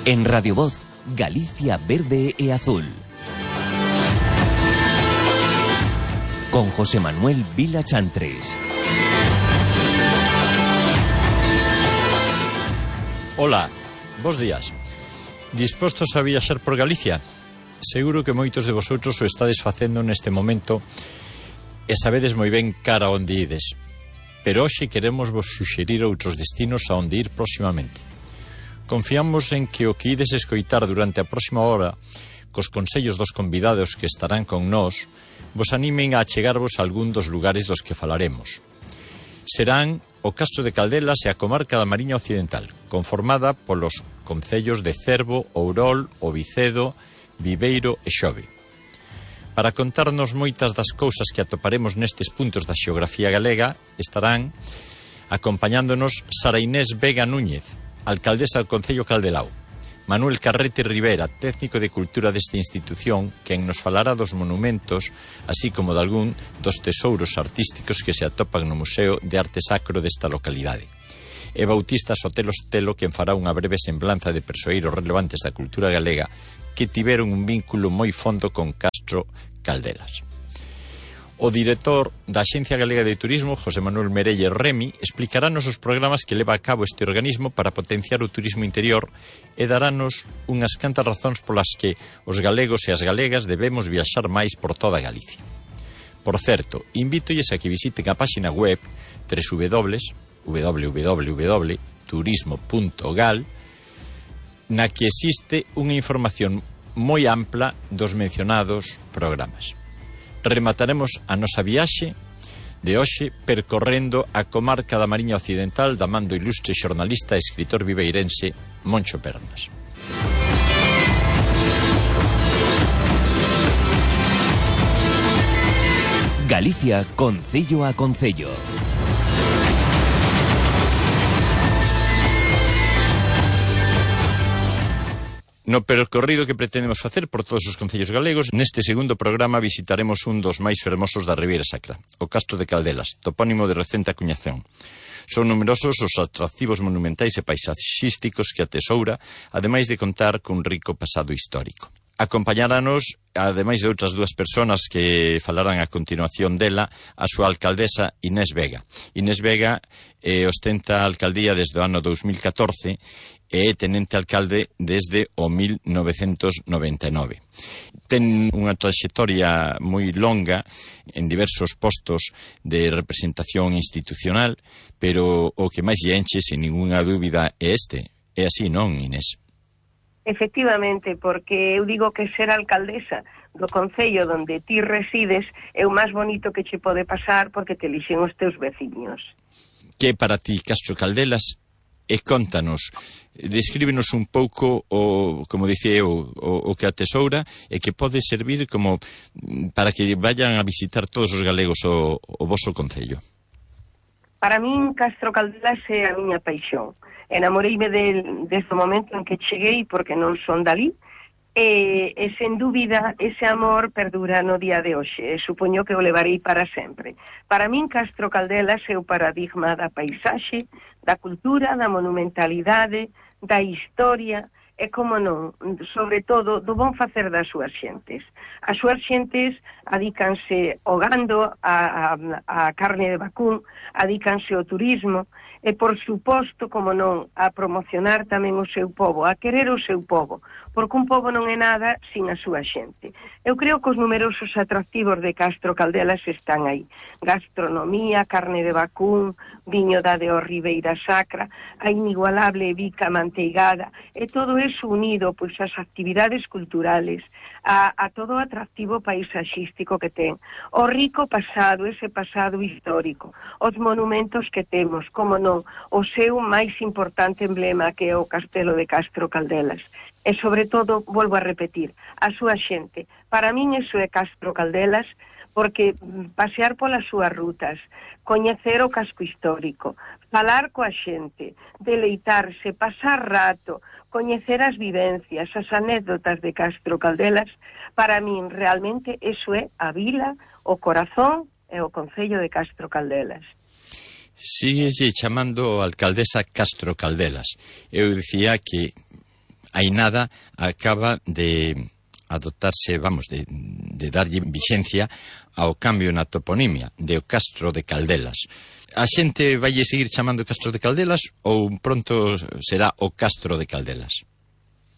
En Radio Voz, Galicia verde e azul. Con José Manuel Vila Chantres. Ola, bos días. Dispostos a viaxar por Galicia? Seguro que moitos de vosotros o estades facendo neste momento e sabedes moi ben cara onde ides. Pero hoxe queremos vos suxerir outros destinos a onde ir próximamente. Confiamos en que o que ides escoitar durante a próxima hora, cos consellos dos convidados que estarán con nós, vos animen a achegarvos a algún dos lugares dos que falaremos. Serán o Castro de Caldelas e a comarca da Mariña Occidental, conformada polos concellos de Cervo, Ourol, O Vicedo, Viveiro e Xove. Para contarnos moitas das cousas que atoparemos nestes puntos da xeografía galega, estarán acompañándonos Sara Inés Vega Núñez, alcaldesa do Concello Caldelao, Manuel Carrete Rivera, técnico de cultura desta institución, quen nos falará dos monumentos, así como de algún dos tesouros artísticos que se atopan no Museo de Arte Sacro desta localidade. E Bautista Sotelo Sotelo, quen fará unha breve semblanza de persoeiros relevantes da cultura galega que tiveron un vínculo moi fondo con Castro Caldelas. O director da Axencia Galega de Turismo, José Manuel Merelle Remi, explicarános os programas que leva a cabo este organismo para potenciar o turismo interior e darános unhas cantas razóns polas que os galegos e as galegas debemos viaxar máis por toda Galicia. Por certo, invítoles a que visiten a páxina web www.turismo.gal, na que existe unha información moi ampla dos mencionados programas. Remataremos a nosa viaxe de hoxe percorrendo a comarca da Mariña Occidental da man do ilustre xornalista e escritor viveirense Moncho Pernas. Galicia, concello a concello. No percorrido que pretendemos facer por todos os concellos galegos, neste segundo programa visitaremos un dos máis fermosos da Ribeira Sacra, o Castro de Caldelas, topónimo de recente acuñación. Son numerosos os atractivos monumentais e paisaxísticos que atesoura, ademais de contar cun rico pasado histórico. Acompañáranos, ademais de outras dúas persoas que falarán a continuación dela, a súa alcaldesa Inés Vega. Inés Vega ostenta a alcaldía desde o ano 2014 e é tenente alcalde desde o 1999. Ten unha traxectoria moi longa en diversos postos de representación institucional, pero o que máis lle enche, sin ninguna dúbida, é este. É así, non, Inés? Efectivamente, porque eu digo que ser alcaldesa do concello onde ti resides é o máis bonito que che pode pasar porque te elixen os teus veciños. Que para ti Castro Caldelas? E contanos, descríbenos un pouco o, como dicía eu, o que atesoura e que pode servir como para que vayan a visitar todos os galegos o voso concello. Para min Castro Caldelas é a miña paixón. Enamoreime desde o momento en que cheguei porque non son dalí e sen dúbida ese amor perdura no día de hoxe e supoño que o levarei para sempre. Para min Castro Caldelas é o paradigma da paisaxe, da cultura, da monumentalidade, da historia e, como non, sobre todo, do bon facer das súas xentes. As súas xentes adícanse ao gando, a carne de vacún, adícanse ao turismo e, por suposto, como non, a promocionar tamén o seu pobo, a querer o seu pobo, porque un pobo non é nada sin a súa xente. Eu creo que os numerosos atractivos de Castro Caldelas están aí. Gastronomía, carne de vacún, viño da de Ribeira Sacra, a inigualable bica manteigada, e todo eso unido pois ás actividades culturales, a todo o atractivo paisaxístico que ten, o rico pasado, ese pasado histórico, os monumentos que temos, como non, o seu máis importante emblema que é o Castelo de Castro Caldelas. E, sobre todo, volvo a repetir, a súa xente. Para min iso é Castro Caldelas, porque pasear polas súas rutas, coñecer o casco histórico, falar coa xente, deleitarse, pasar rato, coñecer as vivencias, as anécdotas de Castro Caldelas, para min realmente iso é a vila, o corazón e o concello de Castro Caldelas. Síguese chamando alcaldesa Castro Caldelas. Eu dicía que hai nada acaba de adoptarse, de darlle vixencia ao cambio na toponimia de o Castro de Caldelas. A xente vaille seguir chamando Castro de Caldelas ou pronto será o Castro de Caldelas?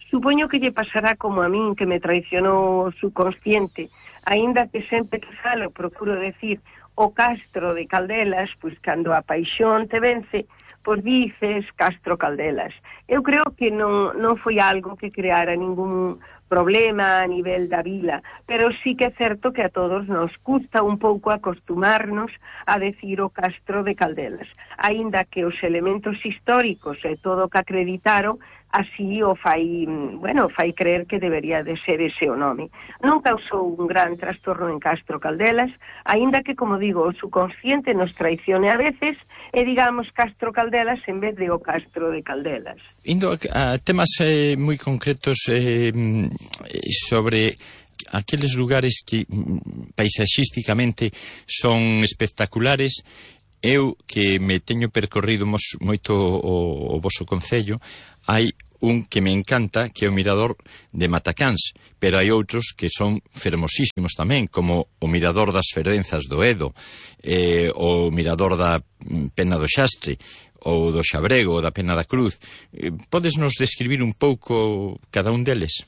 Supoño que lle pasará como a min, que me traicionou o subconsciente, aínda que sempre que falo procuro decir o Castro de Caldelas, pois cando a paixón te vence, pois dices Castro Caldelas. Eu creo que non foi algo que creara ningún problema a nivel da vila, pero sí que é certo que a todos nos custa un pouco acostumarnos a decir o Castro de Caldelas, aínda que os elementos históricos e todo o que acreditaron así o fai creer que debería de ser ese o nome. Non causou un gran trastorno en Castro Caldelas, aínda que, como digo, o subconsciente nos traicione a veces e digamos Castro Caldelas en vez de o Castro de Caldelas. Indo a temas moi concretos sobre aqueles lugares que paisaxísticamente son espectaculares. Eu, que me teño percorrido moito o voso concello, hai un que me encanta, que é o mirador de Matacáns, pero hai outros que son fermosísimos tamén, como o mirador das Fervenzas do Edo, o mirador da Pena do Xastre, ou do Xabrego, ou da Pena da Cruz. Podes nos describir un pouco cada un deles?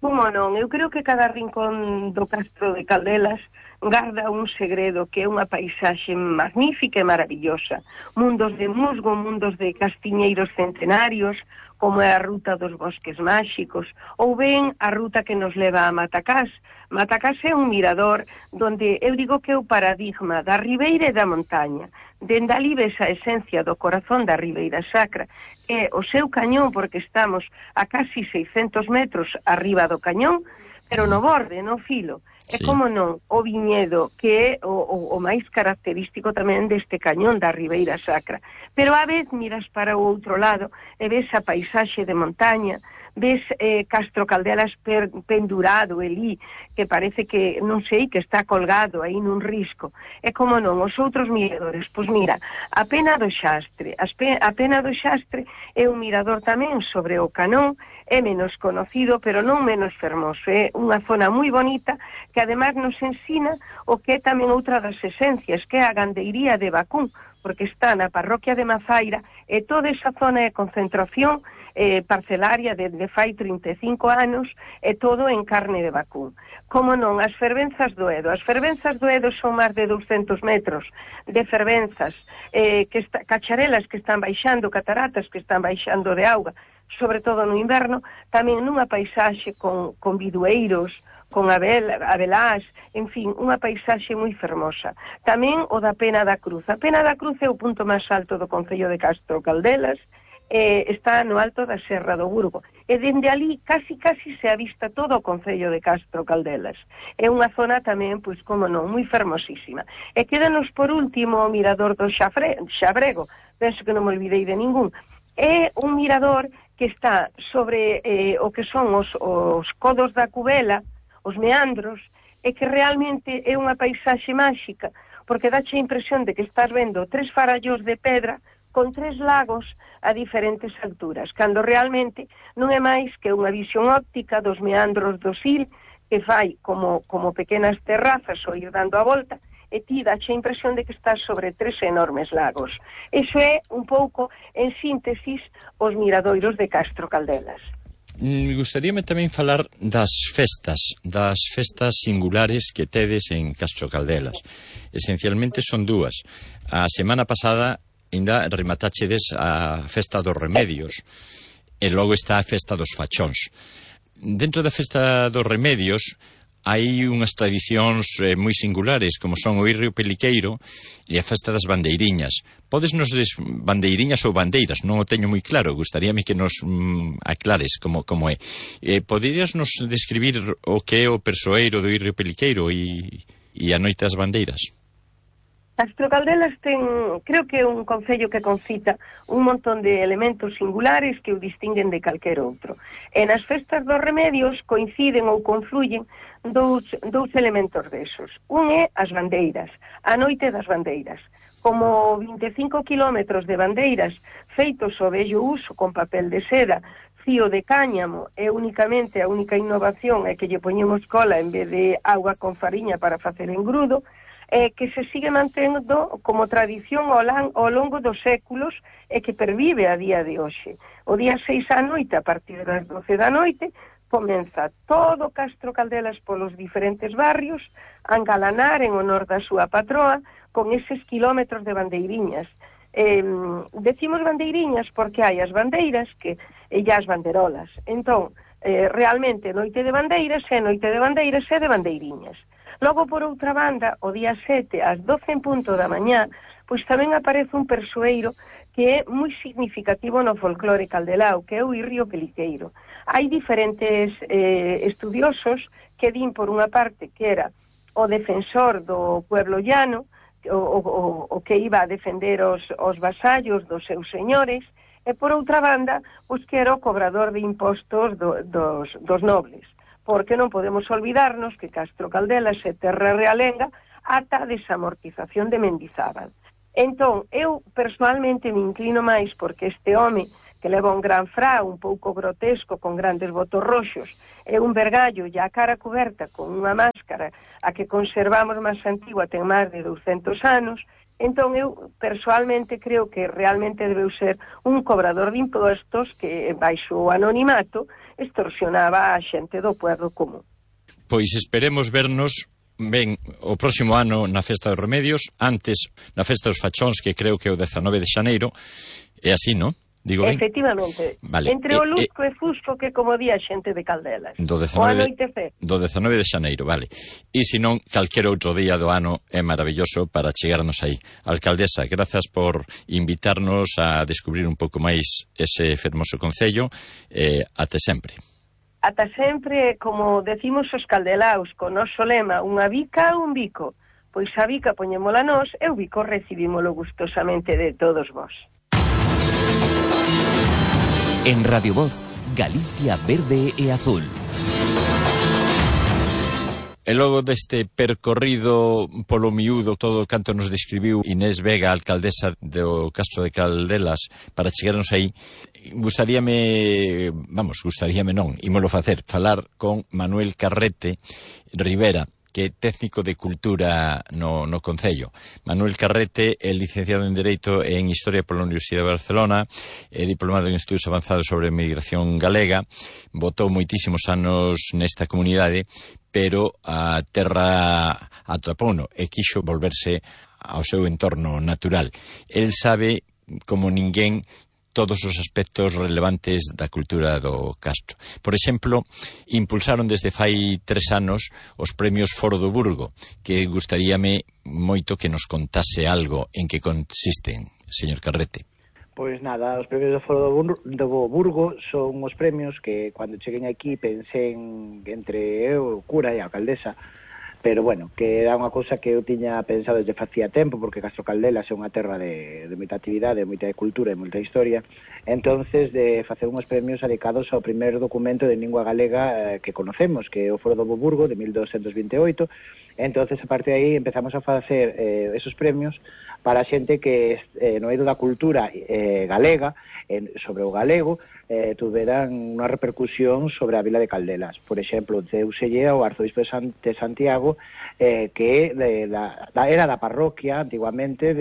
Como non? Eu creo que cada rincón do Castro de Caldelas garda un segredo, que é unha paisaxe magnífica e maravillosa. Mundos de musgo, mundos de castiñeiros centenarios, como é a ruta dos bosques máxicos, ou ben a ruta que nos leva a Matacás. Matacás é un mirador donde eu digo que é o paradigma da ribeira e da montaña. Dende ali ves a esencia do corazón da Ribeira Sacra, que é o seu cañón, porque estamos a casi 600 metros arriba do cañón, pero no borde, no filo. É como non, o viñedo, que é o máis característico tamén deste cañón da Ribeira Sacra. Pero a vez miras para o outro lado e ves a paisaxe de montaña, ves Castro Caldelas pendurado ali, que parece que, non sei, que está colgado aí nun risco. É como non, os outros miradores. Pois mira, a Pena do Xastre. A Pena do Xastre é un mirador tamén sobre o Canón, é menos conocido, pero non menos fermoso. É unha zona moi bonita que además nos ensina o que é tamén outra das esencias, que é a gandeiría de Bacún, porque está na parroquia de Mazaira e toda esa zona de concentración parcelaria desde fai 35 anos e todo en carne de Bacún. Como non, as Fervenzas do Edo. As Fervenzas do Edo son máis de 200 metros de fervenzas, cacharelas que están baixando, cataratas que están baixando de auga, sobre todo no inverno, tamén nunha paisaxe con bidueiros, con abelás, en fin, unha paisaxe moi fermosa. Tamén o da Pena da Cruz. A Pena da Cruz é o punto máis alto do concello de Castro Caldelas, está no alto da Serra do Burgo. E dende ali casi se avista todo o concello de Castro Caldelas. É unha zona tamén, pois como non, moi fermosísima. E quédanos por último o mirador do Xabrego. Penso que non me olvidei de ningún. É un mirador que está sobre o que son os codos da Cubela, os meandros, e que realmente é unha paisaxe máxica, porque dache a impresión de que estás vendo 3 farallos de pedra con 3 lagos a diferentes alturas, cando realmente non é máis que unha visión óptica dos meandros do Sil, que fai como pequenas terrazas ou ir dando a volta, e ti dache a impresión de que estás sobre 3 enormes lagos. Iso é un pouco, en síntesis, os miradoiros de Castro Caldelas. Gustaríame tamén falar das festas singulares que tedes en Castro Caldelas. Esencialmente son 2. A semana pasada ainda rematáchedes a festa dos remedios e logo está a festa dos fachóns. Dentro da festa dos remedios hai unhas tradicións moi singulares, como son o Irrio Peliqueiro e a festa das bandeiriñas. Podesnos bandeiriñas ou bandeiras, non o teño moi claro, gustaríame que nos aclares como é. Poderías nos describir o que é o persoeiro do Irrio Peliqueiro e a noite das bandeiras? Castro Caldelas creo que é un concello que concita un montón de elementos singulares que o distinguen de calquer outro. E nas festas dos remedios coinciden ou confluyen dous elementos desos. Un é as bandeiras, a noite das bandeiras. Como 25 kilómetros de bandeiras feitos ao vello uso con papel de seda, rocío de cáñamo é únicamente a única innovación é que lle poñemos cola en vez de agua con fariña para facer engrudo, que se sigue mantendo como tradición ao longo dos séculos e que pervive a día de hoxe. O día 6 á noite, a partir das 12 da noite, comeza todo Castro Caldelas polos diferentes barrios a engalanar en honor da súa patroa con eses kilómetros de bandeiriñas. Decimos bandeiriñas porque hai as bandeiras e as banderolas. Entón, realmente noite de bandeiras é noite de bandeiras e de bandeiriñas. Logo, por outra banda, o día 7 ás 12 en punto da mañá, pois tamén aparece un persoeiro que é moi significativo no folclore caldelao, que é o Irrio Peliqueiro. Hai diferentes estudiosos que din, por unha parte, que era o defensor do pueblo llano, o que iba a defender os vasallos dos seus señores, e por outra banda, pois que era o cobrador de impostos dos nobles, porque non podemos olvidarnos que Castro Caldelas é terra realenga ata a desamortización de Mendizábal. Entón, eu personalmente me inclino máis porque este home que leva un gran fra, un pouco grotesco, con grandes botos roxos, e un vergallo e a cara coberta con unha máscara a que conservamos máis antigua, ten máis de 200 anos, entón eu persoalmente creo que realmente debeu ser un cobrador de impostos que, baixo o anonimato, extorsionaba a xente do pueblo común. Pois esperemos vernos ben o próximo ano na Festa dos Remedios, antes na Festa dos Fachóns, que creo que é o 19 de xaneiro, é así, non? Digo ben? Efectivamente. Vale. Entre o Lusco e Fusco, que como di a xente de Caldelas. Do 19 de xaneiro, vale. E se non, calquer outro día do ano é maravilloso para chegarnos aí. Alcaldesa, grazas por invitarnos a descubrir un pouco máis ese fermoso concello. Até sempre. Ata sempre, como decimos os caldelaos, con noso lema, unha bica, un bico. Pois a bica poñémola nós e o bico recibímolo gustosamente de todos vós. En Radio Voz, Galicia verde e azul. E logo deste percorrido polo miúdo, todo o canto nos describiu Inés Vega, alcaldesa do Castro de Caldelas, para chegarnos aí, gustaríame non, ímolo falar con Manuel Carrete Rivera, que é técnico de cultura no Concello. Manuel Carrete é licenciado en Dereito e en Historia pola Universidade de Barcelona, é diplomado en Estudos Avanzados sobre Migración Galega, botou moitísimos anos nesta comunidade, pero a terra atrapouno e quixo volverse ao seu entorno natural. El sabe, como ninguén, todos os aspectos relevantes da cultura do Castro. Por exemplo, impulsaron desde fai 3 anos os premios Foro do Burgo, que gustaríame moito que nos contase algo en que consisten, señor Carrete. Pois nada, os premios do Foro do Burgo son os premios que, cando cheguen aquí, pensén entre eu, o cura e a alcaldesa, pero bueno, que era unha cousa que eu tiña pensado desde facía tempo, porque Castro Caldelas é unha terra de moita actividade, de moita cultura e moita historia, entonces de facer unhos premios dedicados ao primer documento de lingua galega que conocemos, que é o Foro do Burgo de 1228. Entonces, a partir de aí empezamos a facer esos premios para a xente que no eido da cultura galega, sobre o galego, tuveran unha repercusión sobre a vila de Caldelas. Por exemplo, deuselle ao arzobispo de Santiago, que era da parroquia antiguamente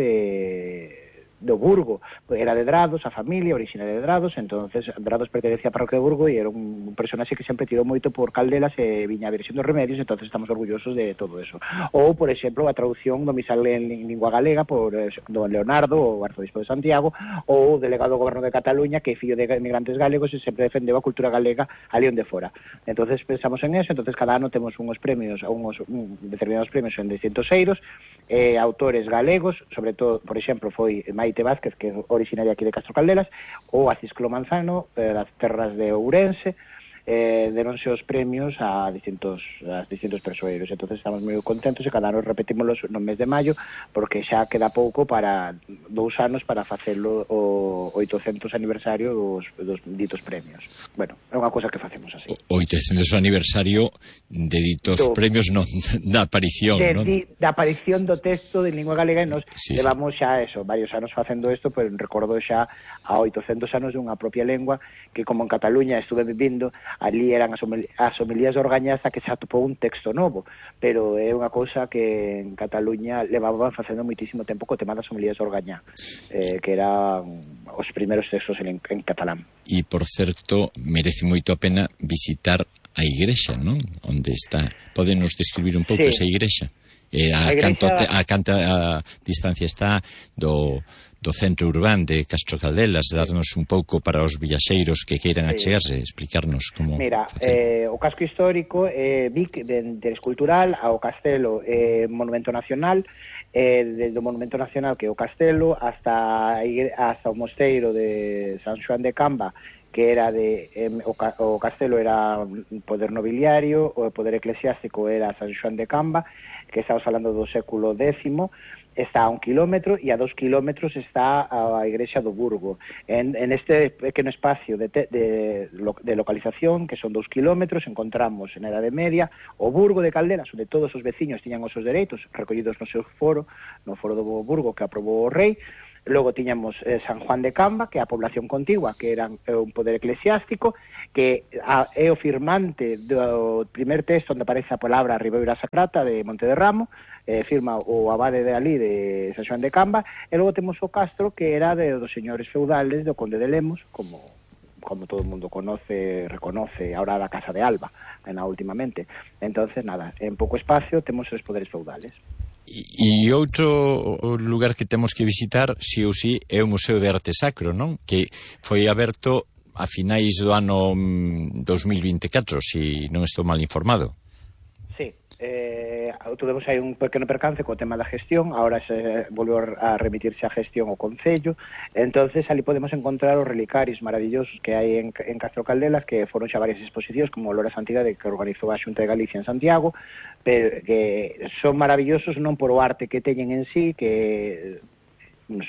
do Burgo, era de Drados, a familia originaria de Drados, entonces Drados pertenecía a parroquia de Burgo e era un personaxe que sempre tirou moito por Caldelas e viña a Virxen dos Remedios, entonces estamos orgullosos de todo eso. Ou, por exemplo, a traducción do misal en lingua galega por don Leonardo, o arzobispo de Santiago, ou o delegado do goberno de Cataluña, que é fillo de emigrantes galegos e sempre defendeu a cultura galega ali onde fora. Entonces pensamos en eso, entonces cada ano temos unhos premios, determinados premios en distintos eidos, autores galegos, sobre todo, por exemplo, foi Maite Vázquez, que é originaria aquí de Castro Caldelas, ou a Cisclo Manzano, das terras de Ourense, deronse os premios a distintos persoeiros. Entonces estamos moi contentos e cada ano repetímoslos no mes de maio, porque xa queda pouco para 2 anos para facelo o 800 aniversario dos ditos premios. Bueno, é unha cousa que facemos así. O 800 aniversario de ditos premios, non, da aparición, non? Da aparición do texto de lingua galega, e nos levamos xa varios anos facendo isto, pero recordo xa a 800 anos dunha propia lengua que, como en Cataluña estuve vivindo, ali eran as homilías de Orgañaza, que xa atopou un texto novo, pero é unha cousa que en Cataluña levaban facendo moitísimo tempo co tema das homilías de Orgañá, que eran os primeiros textos en catalán. E, por certo, merece moito a pena visitar a igrexa, non? Onde está. Podenos describir un pouco esa igrexa? A canta distancia está do centro urbán de Castro Caldelas, darnos un pouco para os viaxeiros que queiran achegarse, explicarnos como... Mira, o casco histórico Vic, de interés cultural, ao castelo Monumento Nacional, desde o Monumento Nacional, que é o castelo, hasta o mosteiro de San Xoán de Camba, que era o castelo era poder nobiliario, o poder eclesiástico era San Xoán de Camba, que estamos falando do século X, está a 1 kilómetro, e a 2 kilómetros está a igrexa do Burgo. En este pequeno espacio de localización, que son 2 kilómetros, encontramos en a Edade Media o Burgo de Caldelas, onde todos os veciños tiñan os seus dereitos recollidos no seu foro, no foro do Burgo que aprobou o rei. Logo tiñamos San Juan de Camba, que é a población contigua, que era un poder eclesiástico, que é o firmante do primer texto onde aparece a palabra Ribeira Sacrata de Monte de Ramo, firma o abade de ali de San Xoán de Camba, e logo temos o castro, que era dos señores feudales do Conde de Lemos, como todo o mundo reconoce ahora da Casa de Alba, últimamente. Entonces, nada, en pouco espacio temos os poderes feudales. E outro lugar que temos que visitar, si ou si, é o Museo de Arte Sacro, non? Que foi aberto a finais do ano 2024, si non estou mal informado. Sí, tuvemos aí un pequeno percance co tema da gestión, ahora se volveu a remitirse a gestión ao Concello, entonces ali podemos encontrar os relicarios maravillosos que hai en Castro Caldelas, que foron xa varias exposicións, como o Lora Santidade, que organizou a Xunta de Galicia en Santiago, pero que son maravillosos non por o arte que teñen en sí, que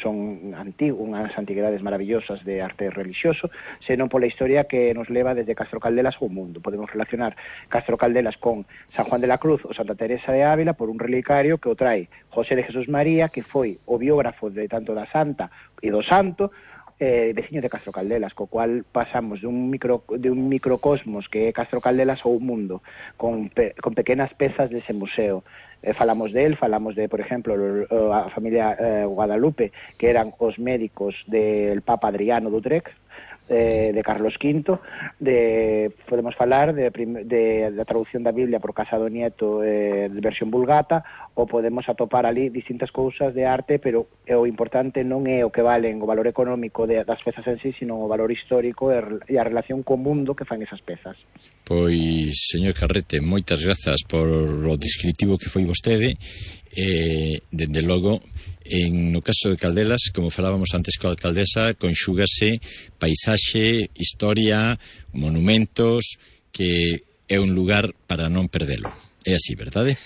son unhas antiguidades maravillosas de arte religioso, senón pola historia que nos leva desde Castro Caldelas ao mundo. Podemos relacionar Castro Caldelas con San Juan de la Cruz ou Santa Teresa de Ávila por un relicario que o trae José de Jesús María, que foi o biógrafo de tanto da Santa e do Santo, veciño de Castro Caldelas, co cual pasamos de un microcosmos que é Castro Caldelas ao mundo, con pequenas pezas dese museo. Falamos de, por exemplo, a familia Guadalupe, que eran os médicos del Papa Adriano d'Utrecht, de Carlos V, podemos falar da traducción da Biblia por Casado Nieto, de versión vulgata, ou podemos atopar ali distintas cousas de arte, pero o importante non é o que valen o valor económico das pezas en sí, sino o valor histórico e a relación co mundo que fan esas pezas. Pois, señor Carrete, moitas grazas por o descritivo que foi vostede. Dende logo, no caso de Caldelas, como falábamos antes coa alcaldesa, conxúgase paisaxe, historia, monumentos, que é un lugar para non perdelo. É así, verdade?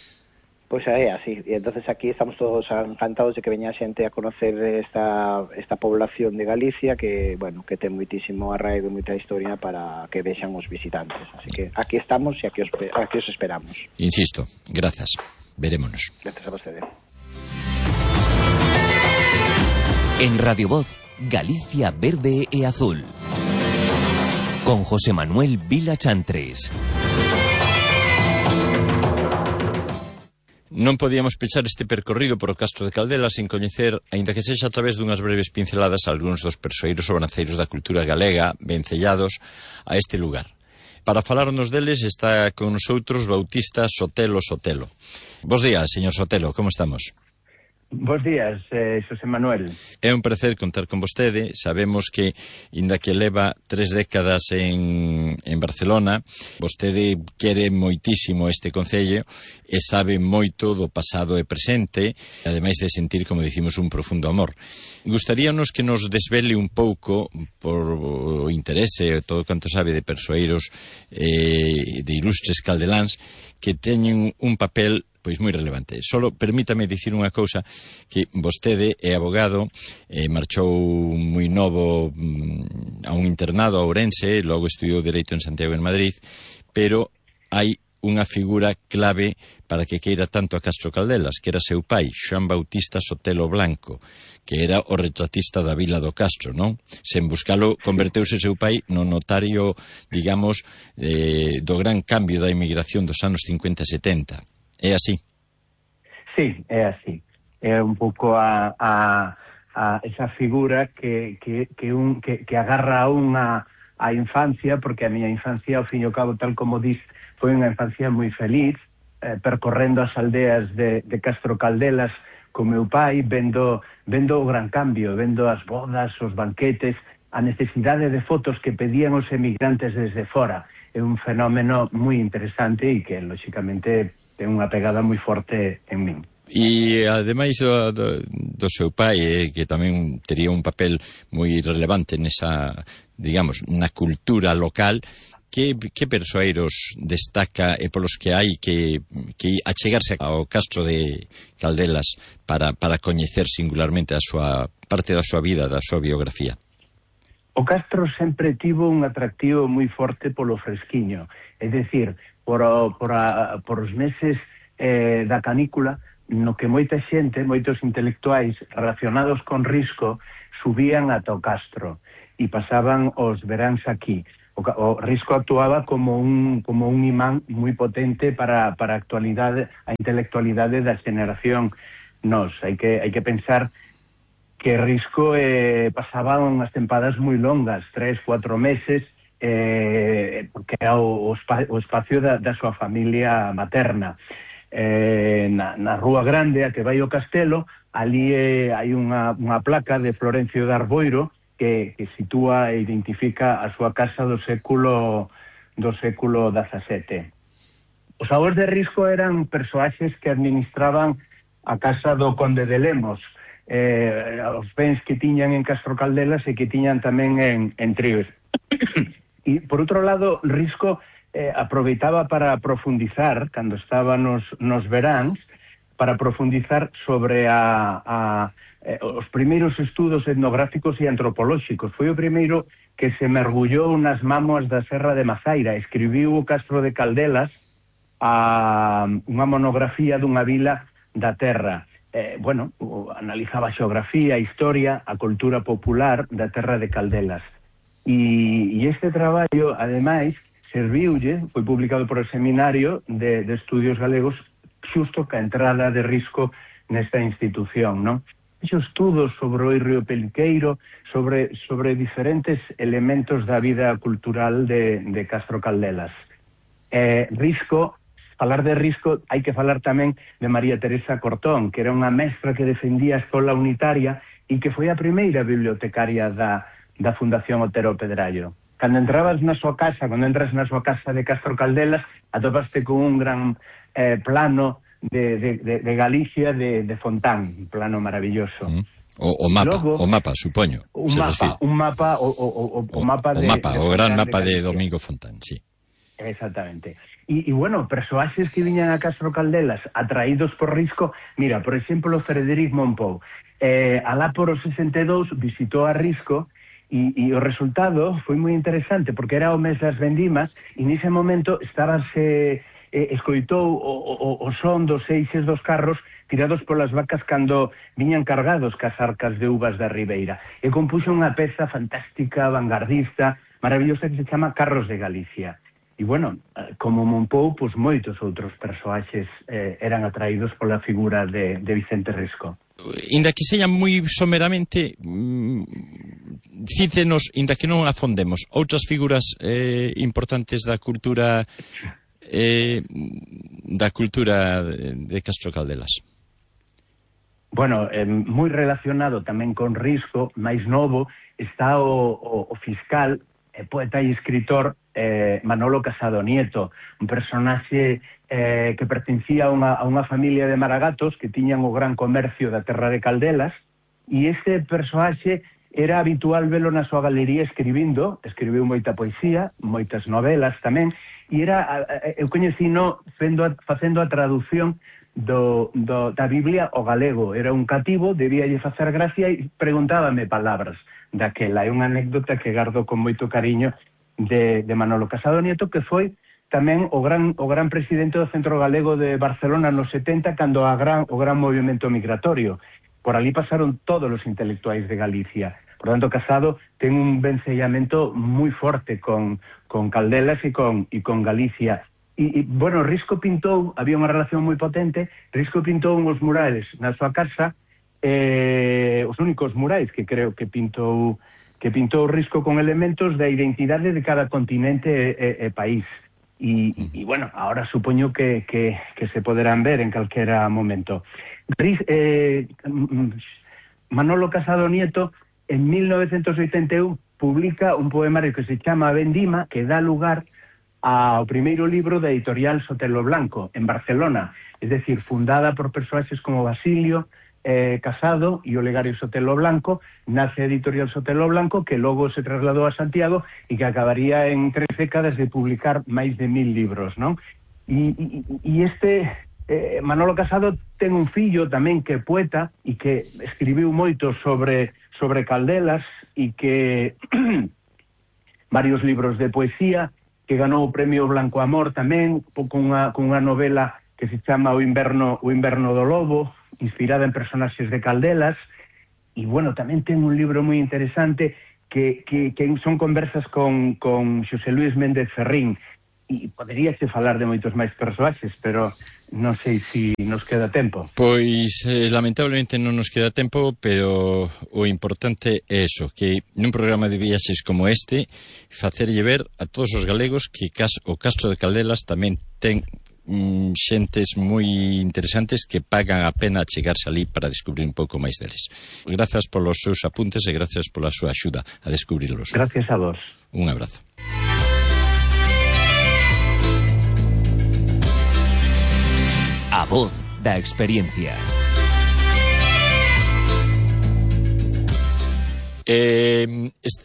Pois é así, e entonces aquí estamos todos encantados de que veña xente a conocer esta población de Galicia que, bueno, que ten moitísimo arraigo e moita historia para que vexan os visitantes. Así que aquí estamos e aquí os esperamos. Insisto, grazas. Verémonos. Gracias a vostede. En Radio Voz, Galicia Verde e Azul. Con José Manuel Vila Chantres. Non podíamos pechar este percorrido por o Castro de Caldelas sin coñecer, aínda que sexa a través dunhas breves pinceladas, algúns dos persoeiros sobranceiros da cultura galega vencellados a este lugar. Para falarnos deles está con nosotros Bautista Sotelo. Bos días, señor Sotelo, como estamos? Bos días, Xosé Manuel. É un placer contar con vostede. Sabemos que, inda que leva 3 décadas en Barcelona, vostede quere moitísimo este concello e sabe moito do pasado e presente, ademais de sentir, como dicimos, un profundo amor. Gustaríanos que nos desvele un pouco, por o interese, todo canto sabe de persoeiros de ilustres caldeláns, que teñen un papel pois moi relevante. Solo permítame dicir unha cousa, que vostede é abogado, marchou moi novo a un internado a Ourense, logo estudiou Dereito en Santiago en Madrid, pero hai unha figura clave para que queira tanto a Castro Caldelas, que era seu pai, Xoán Bautista Sotelo Blanco, que era o retratista da vila do Castro, non? Sen buscalo, converteuse seu pai no notario, digamos, do gran cambio da inmigración dos anos 50 e 70. É así? Sí, é así. É un pouco a esa figura que agarra a unha a infancia, porque a miña infancia, ao fin e ao cabo, tal como dis, foi unha infancia moi feliz, percorrendo as aldeas de Castro Caldelas con meu pai, vendo o gran cambio, vendo as bodas, os banquetes, a necesidade de fotos que pedían os emigrantes desde fora. É un fenómeno moi interesante e que, lóxicamente, ten unha pegada moi forte en min. E, ademais do seu pai, que tamén tería un papel moi relevante nesa, digamos, na cultura local, que persoeiros destaca e polos que hai que achegarse ao Castro de Caldelas para coñecer singularmente a súa parte da súa vida, da súa biografía? O Castro sempre tivo un atractivo moi forte polo fresquiño, é dicir, por os meses da canícula, no que moita xente, moitos intelectuais relacionados con Risco, subían ata o Castro e pasaban os veráns aquí. O Risco actuaba como un imán moi potente para a actualidade, a intelectualidade da xeneración nos. Hai que pensar que Risco pasaba unhas tempadas moi longas, 3-4 meses, porque era o espacio da súa familia materna. Na Rúa Grande, a que vai o castelo, ali hai unha placa de Florencio de Arboiro que sitúa e identifica a súa casa do século XVII. Os avós de Risco eran persoaxes que administraban a casa do conde de Lemos, os bens que tiñan en Castro Caldelas e que tiñan tamén en Tríos. E, por outro lado, Risco aproveitaba para profundizar, cando estaba nos veráns, para profundizar sobre os primeiros estudos etnográficos e antropolóxicos. Foi o primeiro que se mergullou nas mámoas da Serra de Mazaira. Escribiu o Castro de Caldelas unha monografía dunha vila da terra. Analizaba a xeografía, a historia, a cultura popular da terra de Caldelas. E este traballo, ademais, serviulle, foi publicado por o Seminario de Estudios Galegos, xusto ca entrada de Risco nesta institución, non? Fixo estudos sobre o Río Peliqueiro, sobre diferentes elementos da vida cultural de Castro Caldelas. Falar de Risco, hai que falar tamén de María Teresa Cortón, que era unha mestra que defendía a escola unitaria e que foi a primeira bibliotecaria da Fundación Otero Pedrallo. Cando entras na súa casa de Castro Caldelas, atopaste con un gran plano de Galicia de Fontán, un plano maravilloso. O mapa, supoño. O gran mapa de Domingo Fontán, sí. Exactamente. E persoaxes que viñan a Castro Caldelas atraídos por Risco, mira, por exemplo, Frederic Mompou, alá por os 62 visitou a Risco e o resultado foi moi interesante, porque era o mes das vendimas e nese momento escoitou o son dos eixes dos carros tirados polas vacas cando viñan cargados cas arcas de uvas da Ribeira, e compuxo unha peza fantástica, vanguardista, maravillosa, que se chama Carros de Galicia. E, como Mompou, pois moitos outros persoaxes eran atraídos pola figura de Vicente Risco. Inda que seña moi someramente, cítenos, inda que non afondemos, outras figuras importantes da cultura de Castro Caldelas. bueno, moi relacionado tamén con Risco, máis novo, está o fiscal, poeta e escritor Manolo Casado Nieto, un personaxe que pertencía a unha familia de maragatos que tiñan o gran comercio da terra de Caldelas, e este persoaxe era habitual velo na súa galería escribindo, escribiu moita poesía, moitas novelas tamén, e eu coñecino facendo a traducción da Biblia ao galego. Era un cativo, debíalle facer gracia e preguntábame palabras daquela. É unha anécdota que gardo con moito cariño de Manolo Casado Nieto, que foi tamén o gran presidente do Centro Galego de Barcelona nos 70, cando o gran movimento migratorio. Por ali pasaron todos os intelectuais de Galicia. Por tanto, Casado ten un vencellamento moi forte con Caldelas e con Galicia. E, bueno, Risco pintou, había unha relación moi potente, Risco pintou uns murales na súa casa, os únicos murais que creo que pintou Risco con elementos da identidade de cada continente e país. E bueno, ahora supoño que se poderán ver en calquera momento. Manolo Casado Nieto, en 1981, publica un poemario que se chama Vendima, que dá lugar ao primeiro libro da editorial Sotelo Blanco, en Barcelona, es decir, fundada por persoaxes como Basilio Casado e Olegario Sotelo Blanco. Nace a editorial Sotelo Blanco, que logo se trasladou a Santiago e que acabaría en 3 décadas de publicar máis de 1000 libros, non? E este Manolo Casado ten un fillo tamén que é poeta e que escribiu moito sobre Caldelas e que varios libros de poesía, que ganou o premio Blanco Amor tamén, con unha novela que se chama O inverno do lobo, inspirada en personaxes de Caldelas. E, bueno, tamén ten un libro moi interesante que son conversas con Xosé Luis Méndez Ferrín. E poderíase falar de moitos máis persoaxes, pero non sei se nos queda tempo. Pois, lamentablemente non nos queda tempo, pero o importante é eso, que nun programa de viaxes como este, facerlle ver a todos os galegos que o Castro de Caldelas tamén ten xentes moi interesantes que pagan a pena chegarse ali para descubrir un pouco máis deles. Grazas polos seus apuntes e grazas pola súa axuda a descubrirlos. Gracias a vos. Un abrazo. A voz da experiencia.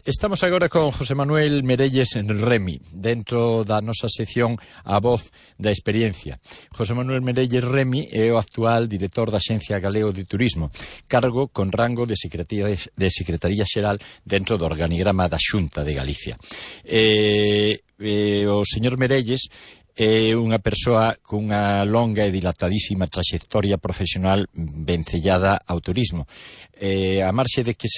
Estamos agora con José Manuel Merelles Remy, dentro da nosa sección A Voz da Experiencia. José Manuel Merelles Remy é o actual director da Axencia Galego de Turismo, cargo con rango de Secretaría Xeral dentro do organigrama da Xunta de Galicia. O señor Merelles é unha persoa cunha longa e dilatadísima traxectoria profesional vencellada ao turismo. A marxe de que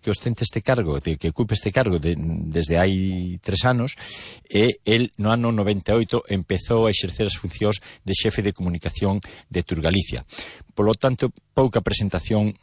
ostente este cargo, de que ocupe este cargo desde hai 3 anos, el no ano 98 empezou a exercer as funcións de xefe de comunicación de Turgalicia. Polo tanto, pouca presentación